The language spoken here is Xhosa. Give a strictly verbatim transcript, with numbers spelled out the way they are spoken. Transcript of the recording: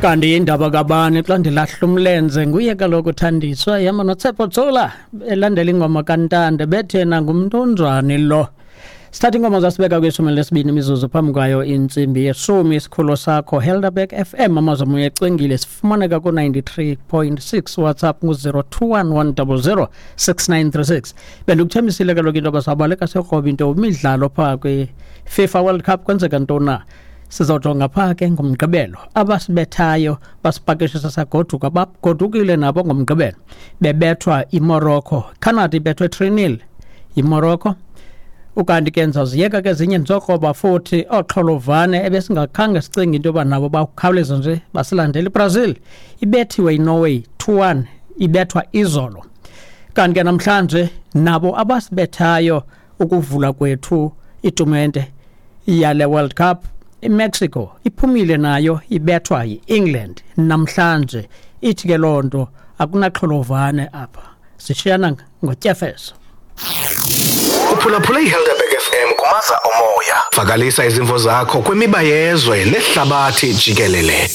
Kanti indaba kabani xa ndilahla umlenze? Nguye kaloku uThandiswa ihamba noTshepo Tshola, elandela ingoma kaNtande bethe nangumntu onjani lo. Sithatha ingoma zasibeka kwishumi lesibini imizuzu phambi kwayo intsimbi yeshumi. Isikhululo sakho Helderberg F M, Amazwe ecwengile. Sifumaneka ku-ninety-three point six. WhatsApp ngu-zero two one one zero zero six nine three six. Bendikuthembisile kaloku into yoba sawubaleka siyokroba into imidlalo phaa kwi-FIFA World Cup. Kwenzeka ntoni na? Sizawujonga phaa ke ngoMgqibelo. Abasibethayo basipakishisa sagoduka, bagodukile nabo ngoMgqibelo bebethwa iMorocco. Canada ibethwe three nil yiMorocco. Ukanti ke ndizawuziyeka ke ezinye, ndizokroba futhi ooxholovane ebesingakhange sicinge into yoba nabo bakhawuleza nje basilandela. IBrazil ibethiwe yiNorway two one, ibethwa izolo. Kanti ke namhlanje nabo abasibethayo ukuvula kwethu itumente yale World Cup, iMexico iphumile nayo, ibethwa yi-England namhlanje. Ithi ke loo nto akunaxholovane apha, sishiyana ngotyefeso. Uphulaphule iHelderberg F M kumaza omoya. Vakalisa izimvo zakho kwimiba yezwe nehlabathi jikelele.